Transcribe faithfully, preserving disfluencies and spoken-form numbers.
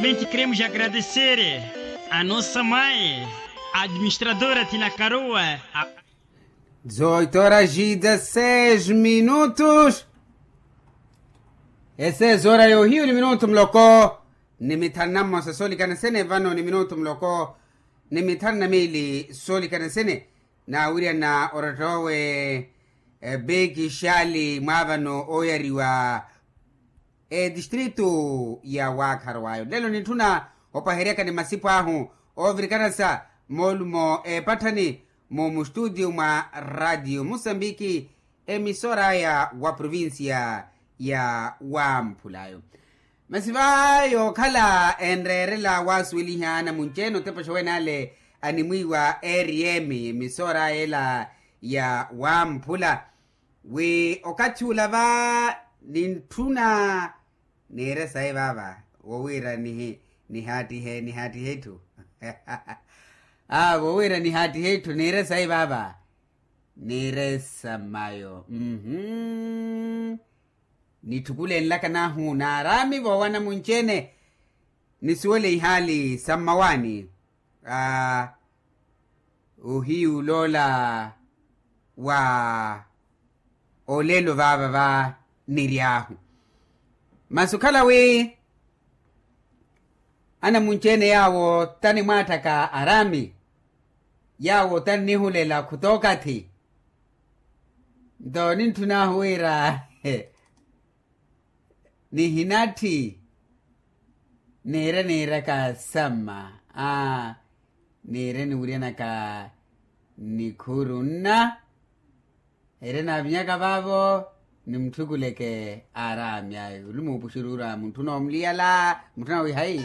Também queremos agradecer a nossa mãe, a administradora Tina Karua. Dezoito horas e dezasseis minutos. Ese zora yohiyu ni minutu muloko ni mithanu na mmosa soolikana sene vano ni minutu muloko ni mithanu na miili soolikana sene. Naawirya na oretta owe beki xali mwaavano ooyariwa etistritu ya waakharo wayo lelo nitthuna opaheryaka ni masipo ahu oovirikanasa moolumo epatthani mu mustutiyo mwa ratio musambiki emisora aya wa provincia ya wamphulayo. Masi va yookhala enreerela waasuweliha anamunci-ene otepexa owen'ale animwiiwa rm emisora ela ya wamphula wi okathi ula va nintthuna niire sayi vaava wowiira nihaattihe nihaattihe etthu. Aa wowiira nihaattihe etthu niire sayi vaava niire sa mayo mmm. Nitthukulenlaka nahu naaraami voowana munci-ene nisuwele ihaali sa mmawaani. Ohiyu loola wa olelo vaava va niry'ahu masi okhala wi anamunci-ene yaawo tanimwaatthaka araami yaawo tannihulela khutookathi nto nintthun'ahu wira nihinatthi niire niiraka samma aa niire niwiryanaka nikhuru nna ere naavinyaka vaavo nimutthukuleke aaraami ayi olumu opuxuruura mutthu noomuliyala mutthu nawihayi.